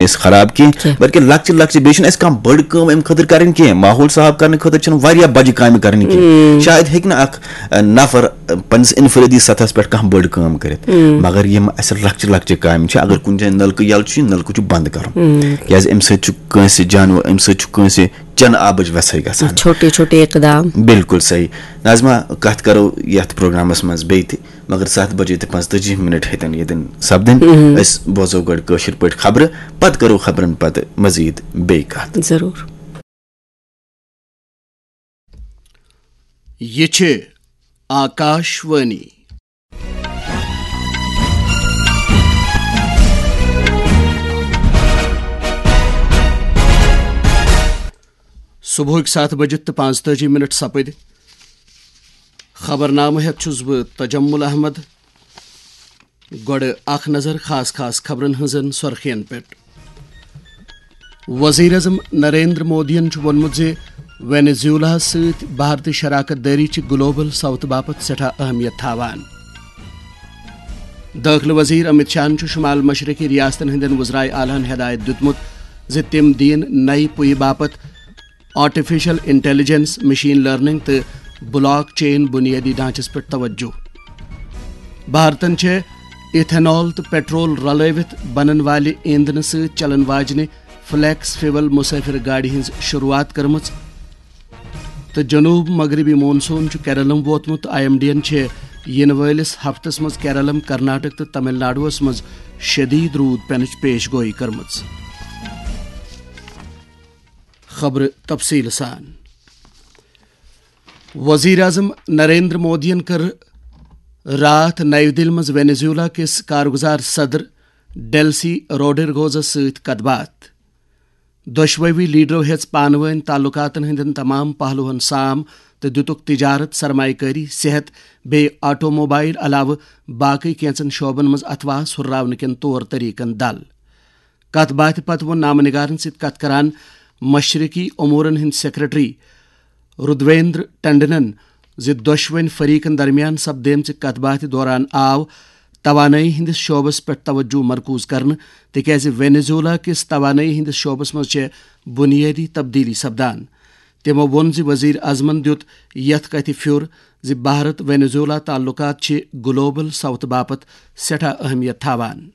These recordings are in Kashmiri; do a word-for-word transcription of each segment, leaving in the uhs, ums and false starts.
أسۍ خراب کینٛہہ، کینٛہہ۔ بلکہِ لۄکچہِ لۄکچہِ، بیٚیہِ چھِنہٕ اَسہِ کانٛہہ بٔڑ کٲم اَمہِ خٲطرٕ کَرٕنۍ کینٛہہ۔ ماحول صاف کَرنہٕ خٲطرٕ چھِنہٕ واریاہ بَجہِ کامہِ کَرنہِ کینٛہہ۔ شاید ہیٚکہِ نہٕ اَکھ، اَ، نَفر، اَ، پنٛنِس اِنفرٲدی سطحَس پٮ۪ٹھ کانٛہہ بٔڑ کٲم کٔرِتھ، مگر یِم اَسہِ لۄکچہِ لۄکچہِ کامہِ چھِ، اگر کُنہِ جایہِ نَلکہٕ یَلہٕ چھُ، یہِ نَلکہٕ چھُ بنٛد کَرُن، کیٛازِ اَمہِ سۭتۍ چھُ کٲنٛسہِ جانوَر، اَمہِ سۭتۍ چھُ کٲنٛسہِ چٮ۪نہٕ آبٕچ وٮ۪ژھٕے گژھان۔ چھوٹے چھوٹے اقدام۔ بِلکُل صحیح۔ ناظمہ، کَتھ کَرو یَتھ پروگرامَس منٛز بیٚیہِ تہِ، مگر ستھ بجے تہٕ پانٛژتٲجی منٹ ہیٚتن ییٚتٮ۪ن سپدٕنۍ۔ أسۍ بوزو گۄڈٕ کٲشِر پٲٹھۍ خبرٕ، پتہٕ کرو خبرن پتہٕ مزید بیٚیہِ کتھ۔ ضروٗر۔ یہِ چھِ آکاش وانی۔ صبحٕکۍ ستھ بجہِ تہٕ پانٛژتٲجی منٹ سپٕدۍ۔ خبرنامہٕ ہٮ۪تھ چھُس بہٕ تجمل احمد۔ گۄڈٕ اکھ نظر خاص خاص خبرن ہٕنٛزن سۄرخین پٮ۪ٹھ۔ وزیر اعظم نریندر مودیَن چھُ ووٚنمُت زِ وینیزیولاہَس سۭتۍ بھارتی شراکت دٲری چھِ گلوبل ساؤتھ باپتھ سٮ۪ٹھاہ اہمیت تھاوان۔ دٲخلہٕ وزیر امت شاہَن چھُ شمال مشرقی ریاستن ہٕنٛدٮ۪ن وزرائے اعلیٰ ہَن ہدایت دِیُتمُت زِ تِم دِیِن نَیہِ پُیہِ باپتھ آرٹیفیشل انٹیلیجنس، مشین لرننگ تہٕ بلاک چین بنیٲدی ڈھانچس پٮ۪ٹھ توجہ۔ بھارتن چھےٚ ایتھنال تہٕ پیٹرول رلٲوِتھ بنن والہِ ایندھنہٕ سۭتۍ چلن واجنہِ فلیکس فیول مسافر گاڑِ ہٕنٛز شروعات کٔرمٕژ۔ تہٕ جنوب مغربی مون سون چھُ کیرلم ووتمُت۔ آئی ایم ڈی یَن چھےٚ یِنہٕ وٲلِس ہفتس منٛز کیرلم، کرناٹک تہٕ تمل ناڈوَس منٛز شدید روٗد پینٕچ پیش گوئی کٔرمٕژ۔ خبرٕ تفصیٖل سان۔ وزیر اعظم نریندر مودیَن کٔر راتھ نَیہِ دِلہِ منٛز وینیزیولا کِس کارگزار صدر ڈیلسی روڈرگوزَس سۭتۍ کتھ باتھ۔ دۄشوٕے لیڈرو ہیٚژ پانہٕ وٲنۍ تعلقاتن ہٕنٛدٮ۪ن تمام پہلوَن سام تہٕ دِتُکھ تجارت، سرمایہ کٲری، صحت، بیٚیہِ آٹوموبائل علاوٕ باقٕے کینٛژن شعبن منٛز اتھواس ہُرراونہٕ کٮ۪ن طور طریقن دل۔ کتھ باتھِ پتہٕ ووٚن نامہ نگارن سۭتۍ کتھ کران مشرقی امورن ہٕنٛدۍ سیکرٹری رودویندر ٹنڈنن زِ دۄشوٕنۍ فریقن درمیان سپدیمژِ کتھ باتھِ دوران آو توانٲیی ہٕنٛدِس شعبس پٮ۪ٹھ توجہ مرکوز کرنہٕ، تِکیازِ وینیزولا کِس توانٲیی ہٕنٛدِس شعبس منٛز چھےٚ بنیٲدی تبدیلی سپدان۔ تِمو ووٚن زِ وزیر اعظمن دیُت یتھ کتھِ پھیُر زِ بھارت وینیزولا تعلقات چھِ گلوبل ساؤتھ باپتھ سٮ۪ٹھاہ اہمیت تھاوان۔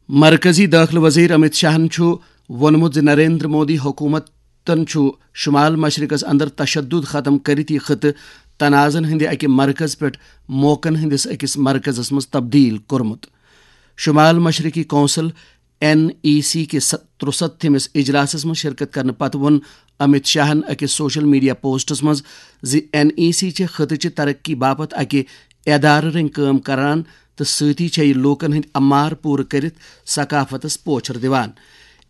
مرکزی دٲخلہٕ وزیر امت شاہن چھُ ووٚنمُت زِ نریندر مودی حکومتن چھُ شمال مشرقس اندر تشدد ختم کٔرِتھ یہِ خطہٕ تنازن ہٕنٛدِ اکہِ مرکز پٮ۪ٹھ موقعن ہٕنٛدِس أکِس مرکزس منٛز تبدیل کوٚرمُت۔ شمال مشرقی کونسل، این ای سی، کِس ترُستھمِس اجلاسس منٛز شرکت کرنہٕ پتہٕ ووٚن امت شاہن أکِس سوشل میڈیا پوسٹس منٛز زِ این ای سی چھِ خطہٕ چہِ ترقی باپتھ اکہِ ادارٕ رٔنگۍ کٲم کران تہٕ سۭتی چھےٚ یہِ لوٗکن ہٕنٛدۍ امار پوٗرٕ کٔرِتھ ثقافتس پوچھر دِوان۔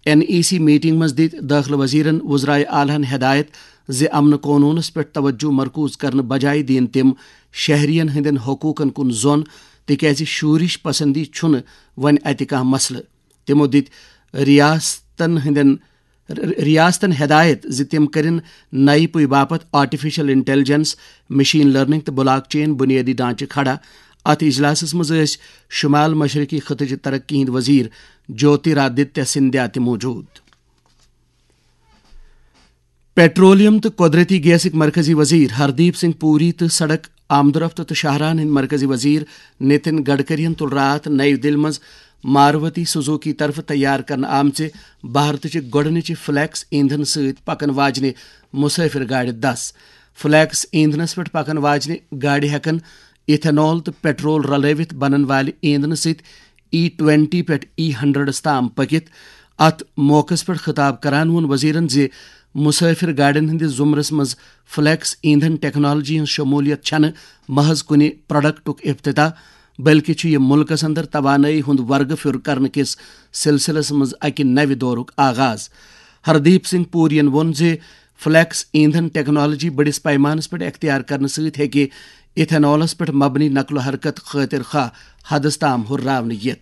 این ای سی میٹنگ منٛز دِتۍ دٲخلہٕ وزیرن وزرائے اعلیٰ ہن ہدایت زِ امن قونوٗنس پٮ۪ٹھ توجہ مرکوز کرنہٕ بجایہِ دِین تِم شہرین ہٕنٛدٮ۪ن حقوٗقن کُن زۄن، تِکیازِ شورش پسندی چھُنہٕ وۄنۍ اتہِ کانٛہہ مسلہٕ۔ تِمو دِتۍ ریاستن ہٕنٛدٮ۪ن ر-، ریاستن ہدایت زِ تِم کٔرِن نَیہِ پُیہِ باپتھ آرٹیفیشل انٹیلیجنس، مشین لرننگ تہٕ بلاک چین بنیٲدی ڈھانچہٕ کھڑا۔ اتھ اجلاسس منٛز ٲسۍ شمال مشرقی خطہٕ چہِ ترقی ہٕنٛدۍ وزیر جیوترادتیہ سندھیا تہِ موجود۔ پیٹرولیم تہٕ قۄدرٔتی گیسٕکۍ مرکزی وزیر ہردیپ سنگھ پوری تہٕ سڑک، آمدورفت تہٕ شاہراہن ہٕنٛدۍ مرکزی وزیر نتن گڈکرین تُل راتھ نَیہِ دِلہِ منٛز ماروتی سوزوکی طرفہٕ تیار کرنہٕ آمژِ بھارتٕچہِ گۄڈٕنِچہِ فلیکس ایندھن سۭتۍ پکن واجنہِ مسافر گاڑِ دس۔ فلیکس ایندھنس پٮ۪ٹھ پکن واجنہِ گاڑِ ہٮ۪کن ایتھنال تہٕ پیٹرول رلٲوِتھ بنن والہِ ایندھنہٕ سۭتۍ ای ٹوینٹی پٮ۪ٹھ ای ہنڈریڈس تام پٔکِتھ۔ اتھ موقعس پٮ۪ٹھ خطاب کران ووٚن وزیرن زِ مسافر گاڑٮ۪ن ہٕنٛدِس زمرس منٛز فلیکس ایندھن ٹیکنالوجی ہٕنٛز شمولیت چھنہٕ محض کُنہِ پروڈکٹُک افتتاح، بلکہِ چھُ یہِ مُلکس اندر توانٲیی ہُنٛد ورگہٕ پھیُر کرنہٕ کِس سلسلس منٛز اکہِ نوِ دورُک آغاز۔ ہردیپ سنگھ پورین ووٚن زِ فلیکس ایندھن ٹیکنالوجی بٔڑِس پیمانس پٮ۪ٹھ اختیار کرنہٕ سۭتۍ ہیٚکہِ ایتھنالس پٮ۪ٹھ مبنی نقل و حرکت خٲطر خواہ حدس تام ہُرراونہٕ یِتھ۔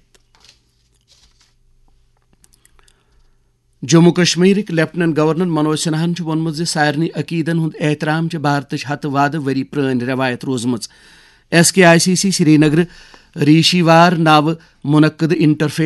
جموں کشمیرٕکۍ لیفٹیننٹ گورنر منوج سنہاہن چھُ ووٚنمُت زِ سارنٕے عقیدن ہُنٛد احترام چھِ بھارتٕچ ہتہٕ وادٕ ؤری پرٲنۍ رٮ۪وایت روٗزمٕژ۔ S K I C C Srinagar Reshi Waar ناوٕ منعقد انٹرفیس